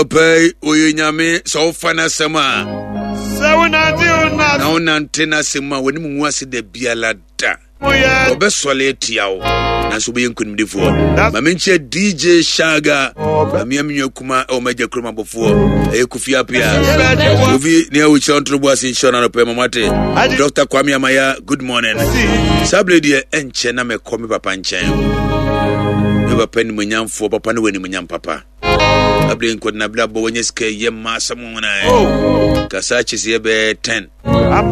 Anɔpa yi, ɔyɛ Nyame sɛ wofa n'asɛm a. Sɛ wonante wo na wonante n'asɛm a, w'anim ngu ase da biara da. Wɔbɛsɔre atia wo, nanso wobɛyɛ nkonimdifoɔ. Ma menkyɛ DJ Shaga, mamea me nua kuma ɛwɔ m'agya kurom abɔfoɔ, ɛyɛ Kofi Apia. Kofi, nea wokyerɛ ntoro bo ase nhyɛ no anɔpa yi, ma moate. Dr. Kwame Amaya, good morning. Saa berɛ deɛ ɛnkyɛ na mɛkɔ me papa nkyɛn. Me papa nimonyamfoɔ, papa ne wɔ animonyam papa. Abere nkɔdena bere abɔ wɔnyɛ sika yɛ mma asɛm wɔn na oh. Kasa akyi sɛ yɛbɛyɛ 10 na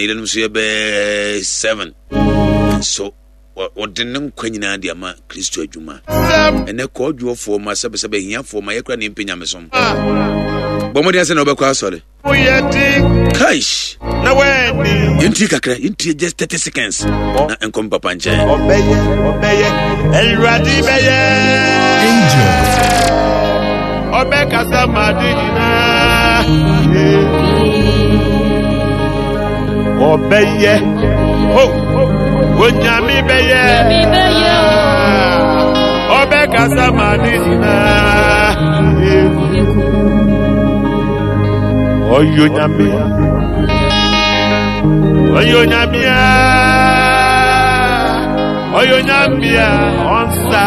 yerenom nso yɛbɛyɛ 7 nso wɔde ne nkwa nyinaa de ama Kristo adwuma. Ɛnɛ kɔɔdwoɔfoɔ ma sɛbɛsɛbɛ ahiafoɔ ma yɛkora ne mpɛ nyamesom. Bɔ mmɔden sɛ na wobɛkɔ asɔre. Kaish. Yɛntie kakra, yɛntie just 30 seconds na nkɔm papa nkyɛn. Ɔbɛyɛ, ɔbɛyɛ, Awurade bɛyɛ. Angel. Ɔbɛkasa ma ade nyinaa. Ɔbɛyɛ, ho, Onyame bɛyɛ. Ɔbɛkasa ma ade nyinaa. Ɔyɛ Onyame. Ɔyɛ Onyame a. Ɔyɛ Onyame a ɔnsa.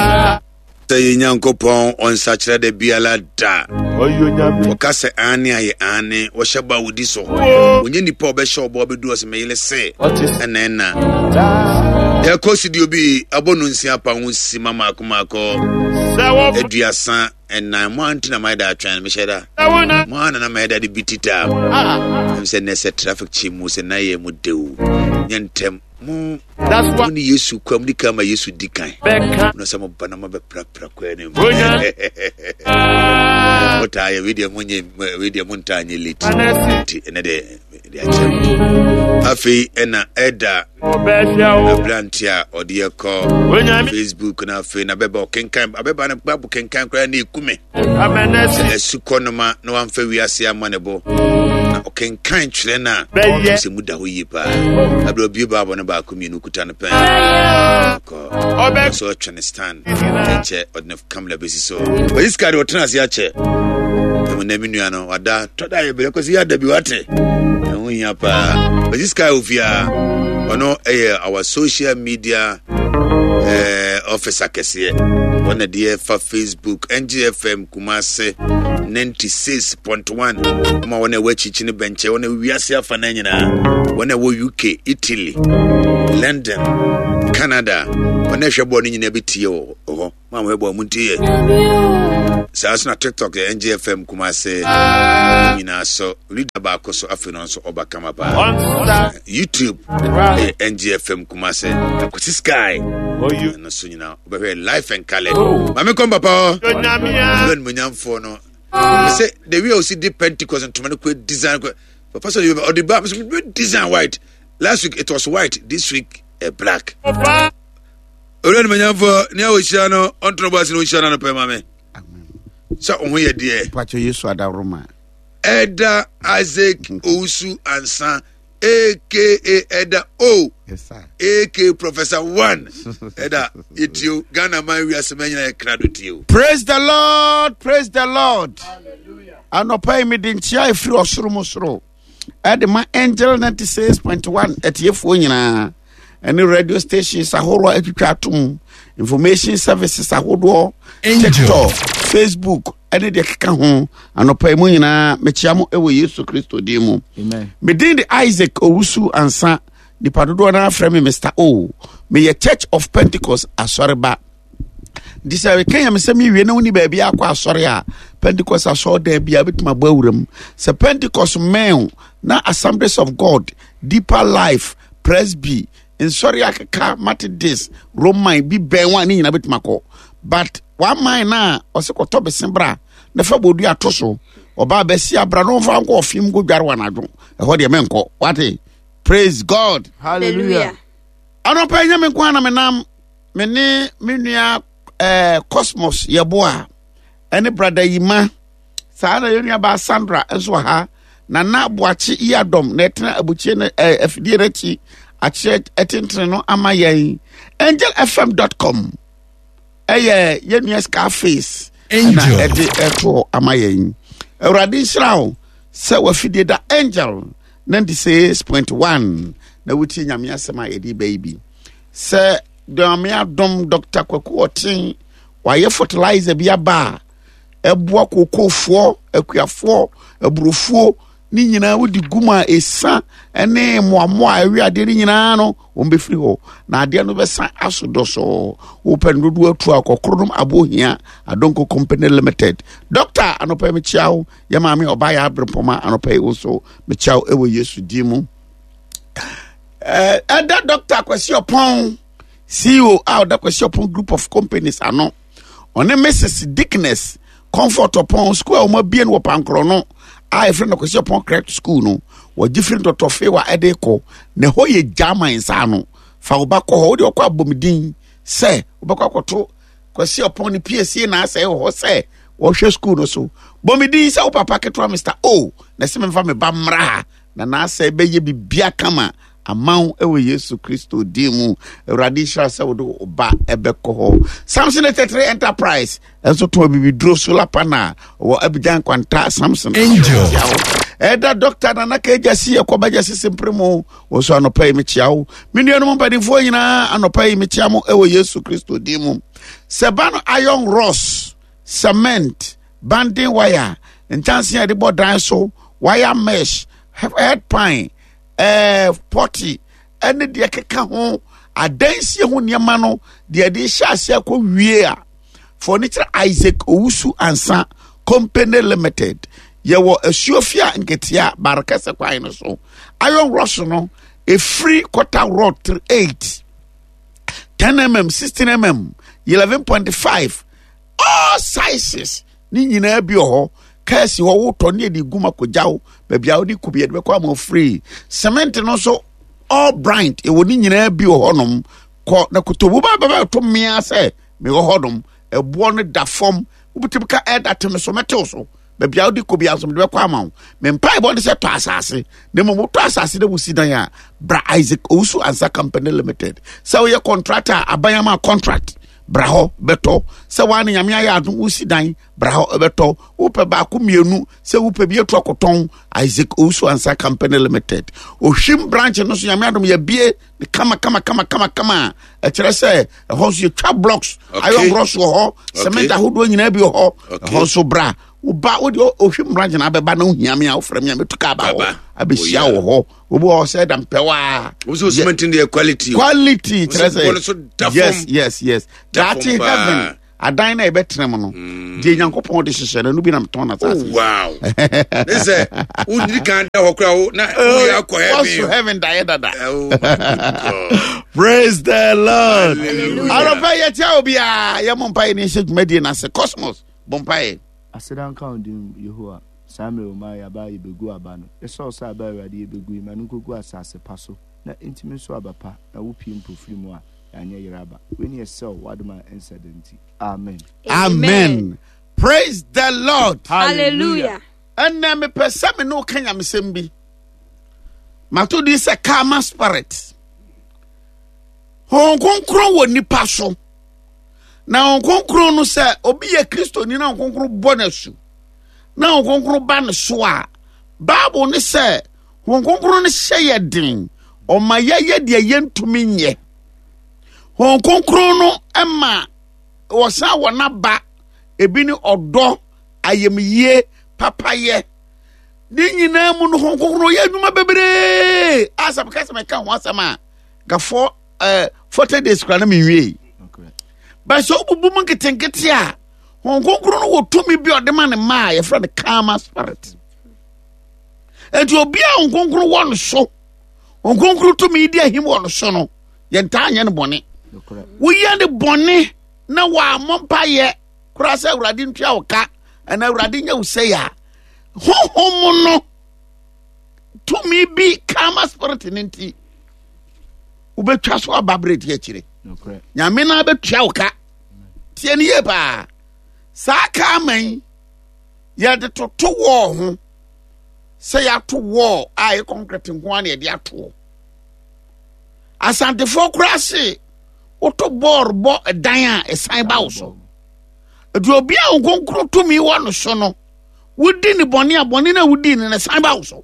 Sɛ yɛ Nyankopɔn ɔnsakyerɛ da biara da. Ɔka sɛ aane a yɛ aane, ɔhyɛ bɔ a ɔdi so. Ɔnyɛ nipa a ɔbɛhyɛ ɔbɔ abɛdu ɔsɛ meyere se ɛna ɛna. Yɛkɔ studio bi abɔ no nsia pa ho sima maako maako 34. Mo anti na mayɛ da atwɛn mehyɛ da. Mo ana na mayɛ da de bi tita. Ɛm sɛ nɛ sɛ traffic kye mu sɛ na yɛ mu dew. Nyɛ ntɛm. Mo mo ne Yesu kɔ mo di kan ma Yesu di kan. Na sɛ mo ba na mo bɛprapra kwan no mu. Mo taa yɛ wei deɛ mo nye wei deɛ mo ntaa nye late. Nti ɛnɛ deɛ de akyɛ mo. Afei ɛna ɛda aberante a ɔde yɛ kɔ Facebook na afei na bɛba ɔkenkan abɛba no babu kenkan koraa na ekume. Sɛ asukɔ noma na wamfa wiase amma ne bo, na ɔkenkan twerɛ no a, sɛ mu da hɔ yie paa. Aberɛ obie baabɔ no baako mmienu kuta no pɛn. Kɔ so ɔtwe ne stand nkyɛ ɔde ne kamera bɛsi so. Ɔyi sika de ɔtena ase akyɛ. Ɛmu na me nua no wada tɔ da yɛ berɛ kɔsi yɛ ada bi wate. Ɛho hia paa. Ɔyi sika wɔ fie a ɔno ɛyɛ our social media eh, officer kɛseɛ. Ɔna deɛ fa Facebook Facebook, NGFM Kumase 96.1 ma wɔn a ɛwɔ akyikyi ne bɛnkyɛ wɔn a ɛwɔ wiase afa no nyinaa wɔn a ɛwɔ UK, Italy, London, Canada wɔn a ɛhwɛ bɔɔl no nyinaa bɛtie wɔ hɔ mo a wɔhwɛ bɔɔl mo ntie saa so na TikTok yɛ NGFM Kumase nyinaa so leader baako so afei no nso ɔba kama paa YouTube ɛyɛ NGFM Kumase Akwasi Sky ɛno so nyinaa wobɛhwɛ life and colour oh. maame kɔm papa hɔ ɔbɛ animonyamfoɔ no sɛ the way a ɔsi di Pentecost ntoma no kɔ design kɔ papa sɛ ɔde ba ɔde design white. Last week it was white, this week black. Owura animonyamfoɔ nea ɔhyira no ɔntono bɔ ase na ɔnhyira no anɔpɛ ma me sɛ ɔho yɛ deɛ. Pacho Yesu adaworoma. Ɛda Isaac Owusu Ansa aka Ɛda O. Yes, sir. Aka Professor One. Ɛda yɛtio Ghana man wiase ma nyina yɛ krado tio. Praise the Lord, praise the Lord. Anɔpa yi mede nkyia ɛfiri ɔsoro mu soro ɛde ma Angel 96.1 atiefoɔ nyinaa ɛne radio stations ahoroɔ atwitwa atom information services ahodoɔ TikTok, Facebook ɛne deɛ keka ho. Anɔpa yi mu nyinaa mekyia mo ɛwɔ Yesu Kristo din mu. Medin de Isaac Owusu Ansa, nipa dodoɔ no afrɛ me Mr. O. Meyɛ Church of Pentecost asɔreba. Nti sɛ meka yɛ me sɛ mewie na woni baabi akɔ asɔre a, Pentecost asɔredan bi a wobɛtumi abɔ awura mu. Sɛ Pentecost mmɛn na Assemblies of God, Deeper Life, Presby, nsɔre akeka Methodist, Roman bi bɛn wɔn a ne nyinaa bɛtumi akɔ. But one man na ɔsɛ kɔtɔ bese bra na fa bɔdua ato so ɔbaa bɛsi abra na ɔmfa nkɔ ɔfem nkɔ dware wɔ anadwo ɛhɔ deɛ menkɔ wate. Praise God, hallelujah. Anɔpa nyɛ me nko ara na menam, me ne me nua Cosmos Yɛboa ɛne brada Yima, saa na yɛn nua baa Sandra nso wɔ ha. Nana Boakye Yiadɔm na ɛtena abukyie no afidie no akyi akyerɛ ɛtentene no ama yɛn. Angelfm.com ɛyɛ yɛn nua Scarface. na ɛde ɛto ama yɛn. Awurade nhyira wo sɛ wafidie da Angel 96.1 na wotie Nyame asɛm a yɛde ba yi bi. Sɛ Nyame adom Dr. Kwaku Ɔten wayɛ fertilizer bi aba a ɛboa kokofoɔ, akuafoɔ, aburofuo ne nyinaa wode gu mu a ɛsa ne mmoammoa a ɛwe adeɛ no nyinaa no wɔn bɛfiri hɔ na adeɛ no bɛsa aso dɔsɔɔ. Wopɛ no dodoɔ atu a kɔkoro nom abohia Adonko Company Limited. Dɔkta anɔpa yi mekyia wo. Yɛ maame ɔbaa yɛ aberempɔma anɔpa yi wo nso mekyia wo ɛwɔ Yesu din mu. Ɛda Dɔkta Kwasi Ɔpɔn CEO a ɔda Kwasi Ɔpɔn Group of Companies ano. Ɔne Mrs. Dickness Comfort Ɔpɔn school a wɔn abie no wɔ Pankorɔ no a yɛfrɛ no Kwasi Ɔpɔn Correct School no wɔgye firi ntɔtɔfe wa ɛde kɔ na ɛhɔ yɛ German nsa ano. Fa wo ba kɔ hɔ wode ɔkɔ abɔmuden sɛ wobɛkɔ akɔto Kwasi Ɔpɔn ne piesie na asɛe wɔ hɔ sɛ wɔhwɛ school no so. Bɔ me din sɛ wo papa ketewa Mr. O na ɛsɛ memfa me ba mmra ha na n'asɛe bɛyɛ bibia kama ama wo wɔ Yesu Kristo din mu. Awurade nhyira sɛ wode wo ba ɛbɛkɔ hɔ. Samson 83 Enterprise ɛnso tɔn bibiduro solar panel wɔ Abidjan Kwanta Samson. Angel. Ɛda Dr. Nana Kegya si ɛkɔ bɛgya sisi mpere mu. Wɔ so anɔpa yi mekyia wo. Me nuanom mpanimfoɔ nyinaa anɔpa yi mekyia mo wɔ Yesu Kristo din mu. Sɛ ba no iron rods, cement, banding wire, nkyɛnse a yɛde bɔ dan so, wire mesh, head pan, pɔte ɛne deɛ keka ho adansie ho nneɛma no deɛ yɛde hyɛ ase akɔ wie a furniture Isaac Owusu Ansa Company Limited yɛwɔ asuofia nketea barekɛsɛ kwan no so iron rods no efiri quarter rod 8 10 mm 16 mm 11.5 all sizes ne nyinaa bi wɔ hɔ. Kaa si hɔ wotɔ ne yɛde gu ma kɔgya wo baabi a wode kɔ bi yɛde bɛkɔ ama free. Cement no nso all brand ɛwɔ ne nyinaa bi wɔ hɔnom. Kɔ na koto wo ba bɛbɛ to mmea sɛ mewɔ hɔnom. Ɛboɔ no da fam wobɛtumi ka ɛda te me so mɛtew so baabi a wode kɔ bi nso mede bɛkɔ ama wo. Me mpaebɔ ne sɛ tɔ asase na mmom wotɔ asase na wosi dan a bra Isaac Owusu Ansa Company Limited. Sɛ woyɛ contractor a aban ama contract bra hɔ bɛtɔ. Sɛ woa ne Nyame ayɛ adom wosi dan bra hɔ bɛtɔ. Wopɛ baako mmienu sɛ wopɛ bi atu akɔtɔn Isaac Owusu Ansa Company Limited. Ohwim branch no so Nyame adom yɛbie ne kama kama kama kama kama a ɛkyerɛ sɛ ɛhɔ nso yɛtwa blocks iron rods wɔ hɔ cement ahodoɔ nyinaa bi wɔ hɔ. Ɛhɔ nso bra woba wode ohwim branch na abɛba na wohia me a wofrɛ me a mɛtu kaa ba hɔ abɛhyia wɔ hɔ. Obi wɔ hɔ sɛ da mpɛwaa. Wo sɛ cement no yɛ quality. Quality kyerɛ sɛ sɛ yes yes yes. Daakye heaven adan na yɛbɛtena mu no deɛ Nyankopɔn de hyehyɛ no no bi na metɔn na asase. Wow. Ne sɛ wodiri kan da hɔ koraa wo na woyɛ akɔ heaven. Wɔso heaven daeɛ dada. Oh my God. Praise the Lord. Anɔpa yɛkyia obiara yɛmmɔ mpaeɛ ne yɛhyɛ dwumadie no ase. Cosmos bɔ mpaeɛ. Aseda nka wo din Yehowa, saa mmerɛ wo maa yɛaba a yɛbɛgu aba no. Yɛsrɛ wo sɛ aba a Awurade yɛbɛgu yi, ma no nkɔgu asase pa so, na ɛntumi nso aba pa, na wo pie mpo firi mu a, yɛanyɛ yera aba. Wei ne yɛsrɛ wo, w'adom a ɛnsa da nti. Amen. Amen. Praise the Lord. Hallelujah. Ɛnɛ mepɛ sɛ me ne wo ka nyamesɛm bi. Mato din sɛ karma spirit. Honhom Kronkron wɔ nipa so. Na Honhom Kronkron no sɛ obi yɛ Kristoni na Honhom Kronkron bɔ no asu na Honhom Kronkron ba ne so a, Bible ne sɛ Honhom Kronkron no hyɛ yɛ den, ɔma yɛyɛ deɛ yɛntumi nyɛ. Honhom Kronkron no ma wɔsan wɔ n'aba, ebi ne ɔdɔ, ayamyie, papayɛ. Ne nyinaa mu no Honhom Kronkron yɛ adwuma bebree. A sɛ meka sɛ meka ho asɛm a, nka 40 days kora na menwiei. But sɛ wobubu mu nketenkete a, Honhom Kronkron no wɔ tumi bi a ɔde ma ne mma a yɛfrɛ no karma spirit. Enti obi a Honhom Kronkron wɔ no so, Honhom Kronkron tumi di ahim wɔ no so no, yɛntaa nyɛ no bɔne. Woyɛ ne bɔne na wɔammɔ mpayɛ koraa sɛ Awurade ntua wo ka anaa Awurade nyɛ wo sɛe a, honhom no tumi bi karma spirit no nti wobɛtwa so aba berɛ di akyire. Nyame no abɛtua wo ka. Tie no yie paa. Saa karma yi yɛde toto wɔɔ ho sɛ yɛato wɔɔ a ɛyɛ concrete nko ara na yɛde atoɔ. Asantefoɔ koraa se woto bɔɔl bɔ dan a ɛsan ba wo so. Nti obi a nkonkoro tumi wɔ no so no, wodi ne bɔne a bɔne no a wodi no no san ba wo so.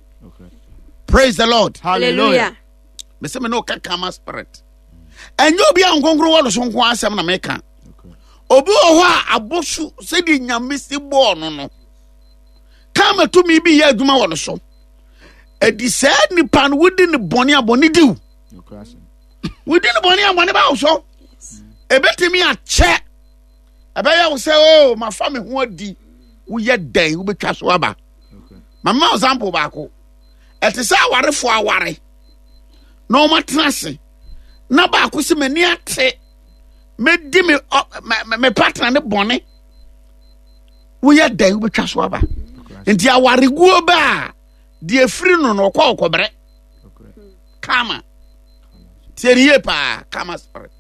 Praise the Lord. Hallelujah. Mese me ne woka kama spirit. Ɛnyɛ obi a nkonkoro wɔ no so nko asɛm na meka. Obi wɔ hɔ a abosu sɛdeɛ nyame si bɔɔ no no. Kama tumi bi yɛ adwuma wɔ no so. Ɛdi saa nipa no wodi ne bɔne a bɔne diw. Wodi ne bɔne a bɔne ba wo so. Ebetumi akyɛ. Ɛbɛyɛ wo sɛ o oh, mafa me ho adi. Woyɛ dɛn wobɛtwa so aba. Mama example baako. Ɛte sɛ awarefoɔ aware na wɔatena ase na baako sɛ m'ani ate mɛdi me me partner ne bɔne woyɛ dɛn wobɛtwa so aba nti awareguo bɛ a deɛ firi no no ɔkɔ ɔkɔbrɛ kama tie ne yie paa kama spirit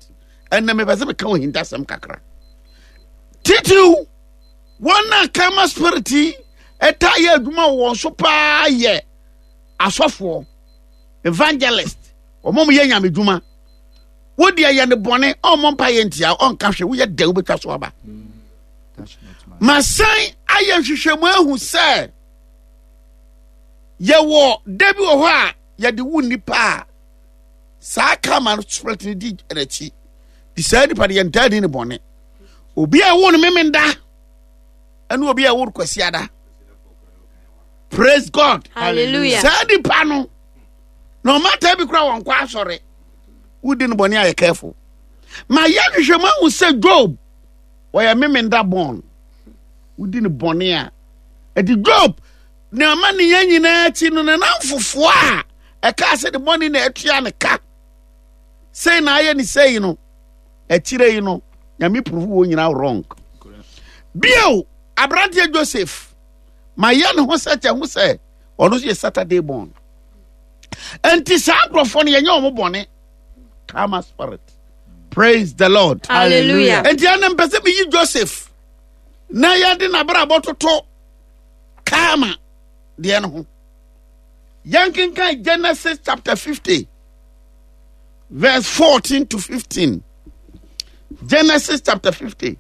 ɛnna mepɛ sɛ meka ohintasɛm kakra titiriw wɔn a kama spirit yi ɛtaa yɛ adwuma wɔ wɔn so paa yɛ asɔfoɔ evangelist wɔn a wɔyɛ nyame dwuma wo deɛ yɛ ne bɔne ɔmmɔ mpa yɛ ntia ɔnka hwɛ woyɛ dɛn wobɛtwa so aba masan ayɛ nhwehwɛmu ahu sɛ yɛwɔ da bi wɔ hɔ a yɛde wo nnipa a saa kama no spirit no di n'akyi de saa nipa no yɛntaa di ne bɔne obi a ɛwo no memenda ɛne obi a ɛwo no kwasiada praise god hallelujah saa nipa no na ɔmata bi kora wɔn kɔ asɔre wodi no bɔne ayɛ careful ma yɛ hwehwɛ mu ahu sɛ job wɔyɛ memenda born wodi no bɔne a ɛdi job na ama ne yɛn nyinaa akyi no ne namfofoɔ a ɛkaa sɛ ne bɔne na atua ne ka sei na ayɛ ne sei no akyire yi no nyame prove wɔ nyinaa wrong bio aberanteɛ joseph ma yɛ ne ho sɛ kyɛ ho sɛ ɔno nso yɛ saturday born nti saa nkurɔfoɔ no yɛnyɛ wɔn bɔne karma spirit praise the lord hallelujah nti ɛna mpɛ sɛ meyi joseph na yɛde n'abrabɔ toto karma deɛ no ho yɛnkenkan genesis chapter 50 verse 14 to 15 genesis chapter 50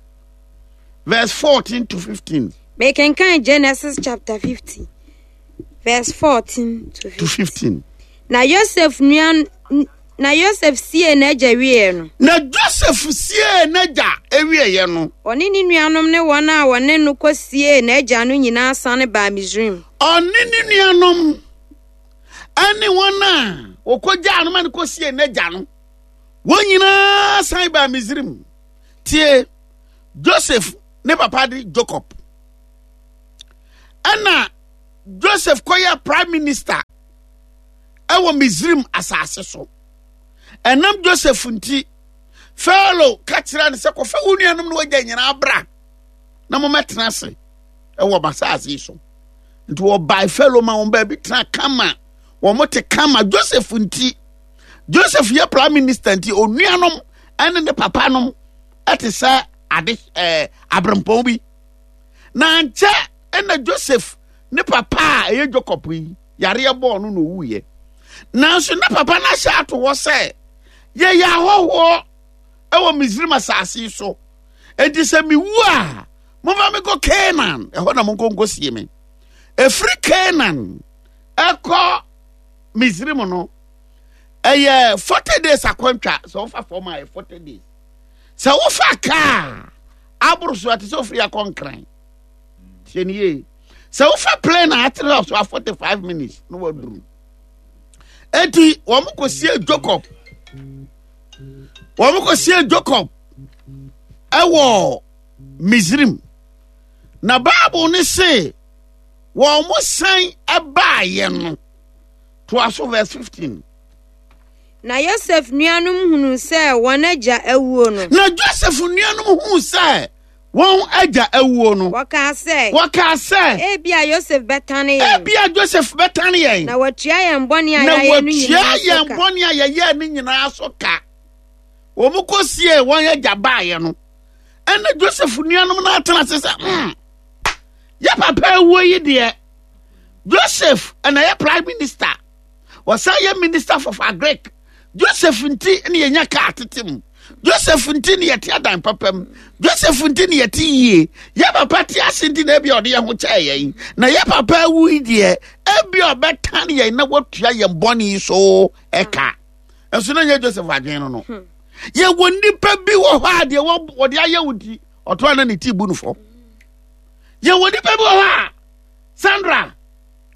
verse 14 to 15 mekenkan genesis chapter 50 verse 14 to 15. To 15. Na Yosef nua na Yosef siee n'agya wieɛ no. Na Joseph siee n'agya wieɛ no. Ɔne ne nuanom ne wɔn a wɔne no kɔsiee n'agya no nyinaa sane baa Misraim. Ɔne ne nuanom ne wɔn a wɔkɔgyaa no ma no kɔsiee n'agya no, wɔn nyinaa san baa Misraim. Tie, Joseph ne papa de Jacob. Ɛna Joseph kɔyɛ prime minister ɛwɔ Misraim asase so. Ɛnam Joseph nti, Pharaoh ka kyerɛ no sɛ kɔfa wo nuanom no wagya nyinaa bra na mommɛtena ase ɛwɔ m'asase yi so. Nti wɔbae Pharaoh ma wɔn baabi tena kama. Wɔn te kama Joseph nti. Joseph yɛ prime minister nti onuanom ɛne ne papa nom ɛte sɛ ade ɛɛ abrempɔn bi. Na nkyɛ ɛna Joseph ne papa a ɛyɛ Jacob yi yareɛ bɔɔ no na owuiɛ. Nanso na papa no ahyɛ ato hɔ sɛ yɛyɛ ahɔhoɔ ɛwɔ Misrim asase yi so. Enti sɛ mewu a momfa me kɔ Canaan ɛhɔ na monkɔ nkɔsie me. Ɛfiri Canaan ɛkɔ Misrim no ɛyɛ 40 days akwantwa sɛ wofa fam a ɛyɛ 40 days. Sɛ wofa kaa aboro so ɛte sɛ ofiri akɔ nkran. Tie ne yie. Sɛ wofa plane a atere so a 45 minutes na waduru. Eti wɔn kɔsie Jacob. Wɔn kɔsie Jacob ɛwɔ Misrim. Na Bible ne se wɔn san ɛbaayɛ no. Toa so verse 15. Na Yosef nuanom hunuu sɛ wɔn agya awuo no. Na Joseph nuanom huu sɛ wɔn agya awuo no. Wɔkaa sɛ. Wɔkaa sɛ. Ebia Yosef bɛtane yɛn. Ebia Joseph bɛtane yɛn. Na watua yɛn bɔne a yɛayɛ no nyinaa so ka. Na watua yɛn bɔne a yɛyɛɛ no nyinaa so ka. Wɔn kɔsiee wɔn agya baeɛ no, ɛna Joseph nuanom no atena ase sɛ, mm, yɛ papa awuo yi deɛ, Joseph ɛna yɛ prime minister. Wɔsan yɛ minister for agric. Joseph nti na yɛnya kaa tete mu. Joseph nti ne yɛte adan papa mu. Joseph nti ne yɛte yie. Yɛ papa te ase nti na ebi ɔde yɛn ho kyɛɛ yɛn. Na yɛ papa awu yi deɛ, ebi ɔbɛtan yɛn na watua yɛn bɔne yi so ɛka. Nso na nyɛ Joseph adwene no no. Yɛwɔ nnipa bi wɔ hɔ a deɛ wɔde ayɛ wo nti, ɔto a na ne ti bu no fɔ. Yɛwɔ nnipa bi wɔ hɔ a, Sandra,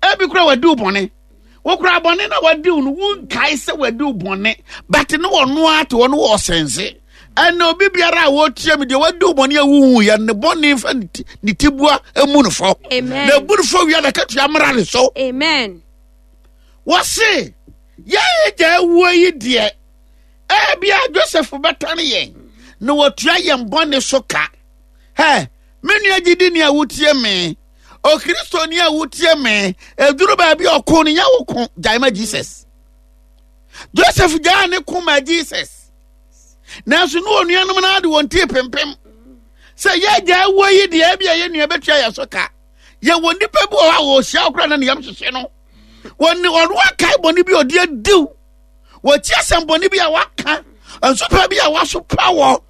ebi kura wadi wo bɔne. Wokura bɔne na wadi wo no, wonkae sɛ wadi wo bɔne, but ne wɔno ara te hɔ no wɔ ɔsɛnse. Ɛna obi biara a wɔtie me deɛ wadi wo bɔne a wohu yɛ ne bɔne mfa ne ti bua emu no fɔ. Amen. Na ebu no fɔ wia na katua mmra ne so. Amen. Wɔse yɛn agya awuo yi deɛ, ebia Joseph bɛtane yɛn na watua yɛn bɔne so ka. Hɛ, me nua gyidini a wotie me, Okristoni a wotie me, eduru baabi a ɔko no nyɛ wo ko, gyae ma Jesus. Joseph gyaa ne ko ma Jesus. Nanso ne onuanom no ade wɔn ti pempem sɛ yɛgya awuo yi deɛ ebi a yɛn nua bɛtua yɛn so ka. Yɛwɔ nnipa bi wɔ hɔ a wɔhyia wo koraa na ne yam hyehye no. Wɔne ɔno akae bɔne bi a ɔde adiw. Wɔti asɛm bɔne bi a waka, nsopa bi a wasopa wɔ,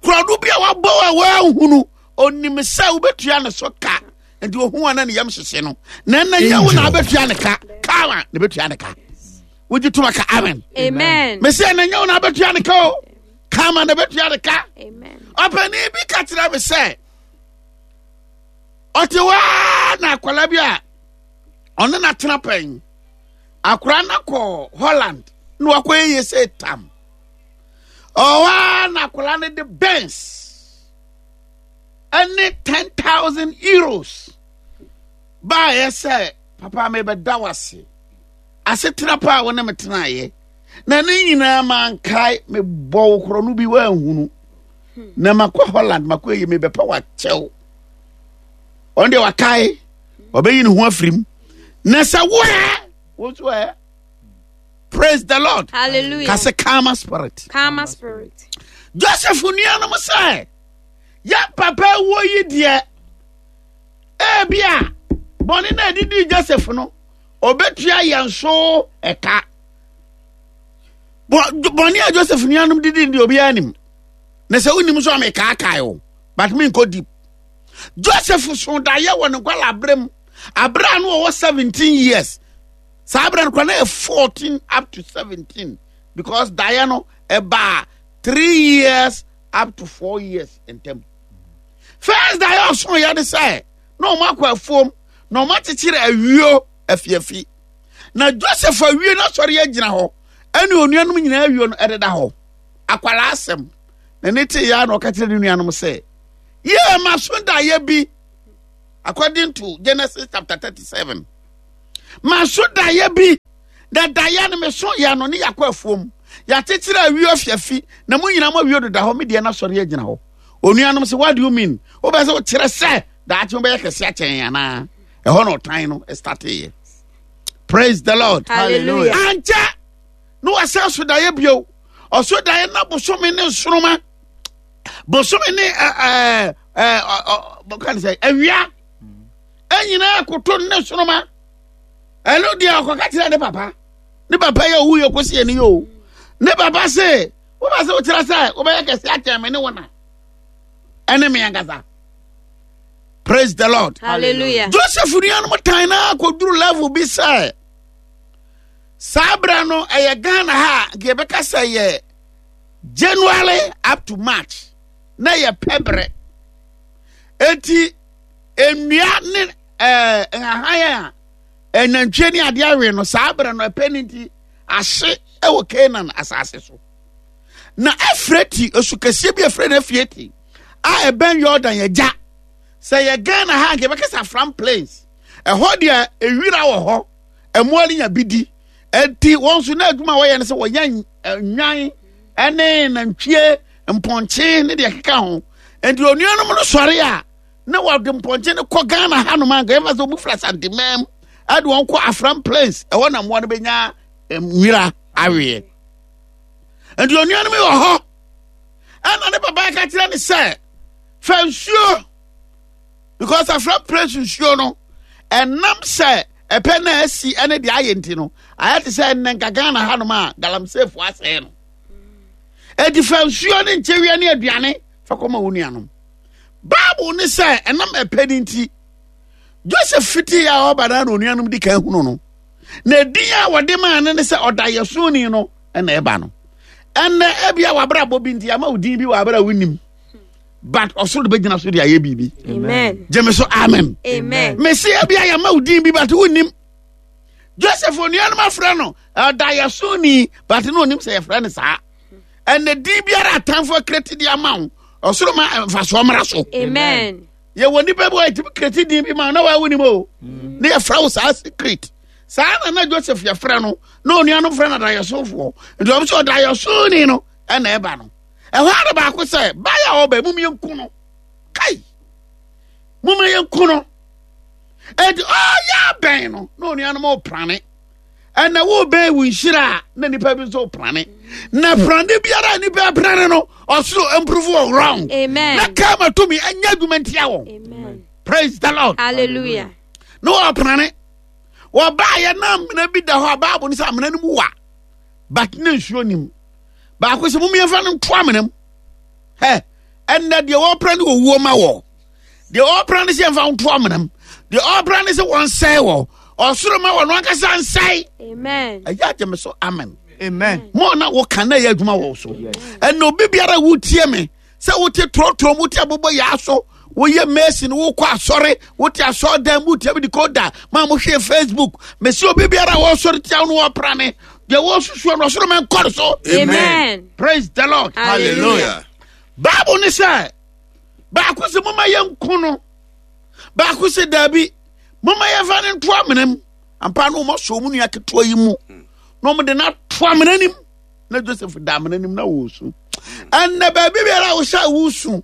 korɔno bi a wabɔ a wɔanhunu. Onim sɛ wobɛtua ne so ka, nti ohu a na ne yam hyehye no. Na ɛnna nyɛ wo na wobɛtua ne ka, kawa na bɛtua ne ka. Wogye toma ka amen. Amen. Mese ɛnna nyɛ wo na wobɛtua ne ka o, kama na bɛtua ne ka. Amen. Ɔpanin bi ka kyerɛ me sɛ ɔte hɔ ara na akwadaa bi a ɔne no atena pɛn. Akwadaa no kɔ Holland na wakɔyɛ yie sɛ tam. Ɔwɔ ara na akwadaa no de Benz ɛne 10,000 euros baayɛ sɛ papa mebɛda wo ase asetena pa a wo ne me tenaeɛ na ne nyinaa mankae mebɔ wo korɔ no bi woanhunu na makɔ Holland makɔ yi mebɛpɛ wakyɛw ɔno deɛ wakae ɔbɛyi ne ho afiri mu na sɛ woɛ wo nso ɛ. Praise the Lord. Hallelujah. Ka sɛ karma spirit. Karma spirit. Joseph nuanom sɛ yɛn papa wuo yi deɛ ebi a bɔne na ɛdidi Joseph no ɔbɛtua yɛn so ɛka. Bɔne a Joseph nuanom didi deɛ obiara nim. Na sɛ wonim nso a mekaakae o but menkɔ deep. Joseph so daeɛ wɔ ne nkwala abere mu abere a no ɔwɔ 17 years. Saa berɛ no kora na yɛ 14 up to 17 because daeɛ no ɛbaa 3 years up to 4 years ntam. First daeɛ ɔso yɛ ne sɛ na wɔn akɔ afuom na wɔn akyekyere awio afiafi. Na Joseph awie no asɔre agyina hɔ ɛne onuanom nyinaa awio no ɛdeda hɔ. Akwalaa asɛm na ne te yɛ na ɔka kyerɛ ne nuanom sɛ yɛ ma so daeɛ bi according to Genesis chapter 37. Maso daeɛ bi, na daeɛ no meso yɛ no ne yɛakɔ afuom. Yɛakyekyere awio afiafi, na mo nyinaa mo awio deda hɔ, me deɛ no asɔre agyina hɔ. Onuanom sɛ, what do you mean? Wobɛ sɛ wokyerɛ sɛ daakye wobɛyɛ kɛse akyɛn yɛn anaa? Ɛhɔ na ɔtan no starteeɛ. Praise the Lord. Hallelujah. Ankyɛ na wasan so daeɛ bio. Ɔso daeɛ na bosome ne nsoroma, bosome ne ɛɛ ɛɛ ɔ sɛ awia. Ɛnyinaa koto ne soroma. Ɛno deɛ ɔkɔka kyerɛ ne papa. Ne papa yɛ owu yɛ kɔsi ɛni yɛ o. Ne papa se, woba sɛ wokyerɛ sɛ wobɛyɛ kɛse akyɛn me ne wo na. Ɛne me ankasa. Praise the Lord. Hallelujah. Joseph nuanom tan na akɔduru level bi sɛ saa berɛ no ɛyɛ Ghana ha a nka yɛbɛka sɛ yɛ January up to March na yɛ pɛ berɛ. Eti nnua ne ɛɛ nhahan a nantwie ne adeɛ awe no saa berɛ no ɛpɛ ne nti ahye wɔ Canaan asase so. Na Efrati osu kɛseɛ bi efrɛ no Efrati a ɛbɛn Yordan agya. Sɛ yɛ Ghana ha nka yɛbɛka sɛ Afram Plains. Ɛhɔ deɛ ewira wɔ hɔ, ɛmoa no nya bi di. Enti wɔn nso na adwuma a wɔyɛ no sɛ wɔyɛ nnwan ne nantwie, mpɔnkye ne deɛ ɛkeka ho. Enti onuanom no sɔre a na wɔde mpɔnkye no kɔ Ghana hanom a nka yɛfa sɛ wɔn fira Santemam ɛde wɔn kɔ Afram Plains ɛhɔ na mmoa no bɛnya nwira aweɛ. Enti onuanom yi wɔ hɔ ɛna ne papa ka kyerɛ ne sɛ fa nsuo because Afram Plains nsuo no ɛnam sɛ ɛpɛ na asi ɛne deɛ ayɛ nti no ayɛ te sɛ ɛnnɛ nka Ghana hanom a galamseyfoɔ asɛe no. Enti fa nsuo ne nkyewia ne aduane fa kɔma wo nuanom. Bible ne sɛ ɛnam ɛpɛ no nti, Joseph fitii a ɔba na onuanom di kan hunu no. Na edin a wɔde maa no ne sɛ ɔdayɛsoni no na ɛba no. Ɛnnɛ ebia w'abrabɔ bi nti ama wo din bi wɔ abere a wonim. But ɔsoro de bɛgyina so de ayɛ biribi. Amen. Gyeme so amen. Amen. Mesi ebia yɛma wo din bi but wonim. Joseph onuanom afrɛ no ɔdayɛsoni but na onim sɛ yɛfrɛ no saa. Ɛnna din biara atamfo akreti de ama wo ɔsoro ma mfasoɔ mmra so. Amen. Yɛwɔ nipa bi wɔ yɛtumi kreti din bi ma na wɔawo nim o. Ne yɛfrɛ wo saa secret. Saa na na Joseph yɛfrɛ no na onuanom frɛ no adayɛsofoɔ. Nti wɔn sɛ ɔdayɛsoni no ɛna ɛba no. Ɛhɔ ara baako sɛ baayɛ a ɔba mum yɛnku no. Kai! Mum yɛnku no. Enti ɔyɛ abɛn no na onuanom ɔprane. Ɛna wobɛn wo nhyira a na nipa bi nso prane. Na prane biara a nipa prane no ɔsoro improve wɔ wrong. Amen. Na kama tumi ɛnyɛ adwuma ntia wɔn. Amen. Praise the Lord. Hallelujah. Na wɔprane. Wɔbaayɛ na amena bi da hɔ a Bible no sɛ amena no mu wa. But na nsuo nim. Baako sɛ mom yɛmfa no nto amena mu. Hɛ ɛnna deɛ wɔpra ne owuo ma wɔ. Deɛ ɔpra ne sɛ yɛmfa nto amena mu. Deɛ ɔpra ne sɛ wɔnsɛe wɔ. Ɔsoro ma wɔn ankasa nsɛe. Amen. Ɛyɛ agye me so amen. Amen. Mo na woka na ɛyɛ adwuma wɔ so. Ɛnna obi biara wotie me sɛ wote torɔtorɔ mu wote abobɔ yaa so woyɛ mason wokɔ asɔre wote asɔredan mu wotie bi de koda ma mohwɛ Facebook mesi obi biara a wɔsɔre tia wo no wɔpra ne deɛ wɔsusuo no ɔsoro ma nkɔre so. Amen. Praise the Lord. Hallelujah. Bible ne sɛ baako sɛ moma yɛnko no baako sɛ daabi moma yɛmfa no nto amena mu ampa no wɔn asɔ wɔn nua ketewa yi mu na wɔn de no ato amena nim na Joseph da amena nim na wɔresu ɛnna baabi biara a wohyɛ a wosu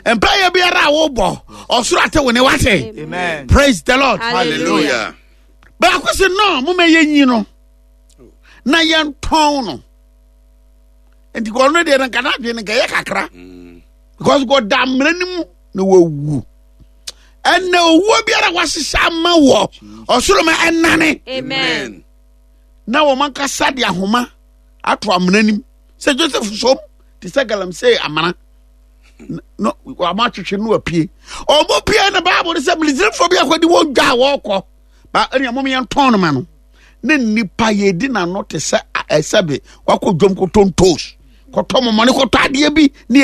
mpaeɛ biara a wobɔ ɔsoro ate wo ne wate. Amen. Praise the Lord. Hallelujah. Baako sɛ no moma yɛnyi no na yɛntɔn no nti ɔno deɛ no nka n'adwene no nka ɛyɛ kakra because ɔda amena no mu na wawu ɛnna owuo biara wahyehyɛ ama wɔ ɔsoro ma ɛnane Amen. na wɔn ankasa de ahoma ato amena nim sɛ Joseph som te sɛ galamsey amena no wɔn atwetwe no apue wɔn pue na Bible no sɛ Misraimfoɔ bi akɔdi wɔn dwa a wɔrekɔ ba ɛnna wɔn yɛn tɔn no ma no ne nipa yɛdi n'ano te sɛ ɛsɛbe wakɔ dwom kɔtɔ ntoos kɔtɔ mɔmɔne kɔtɔ adeɛ bi ne.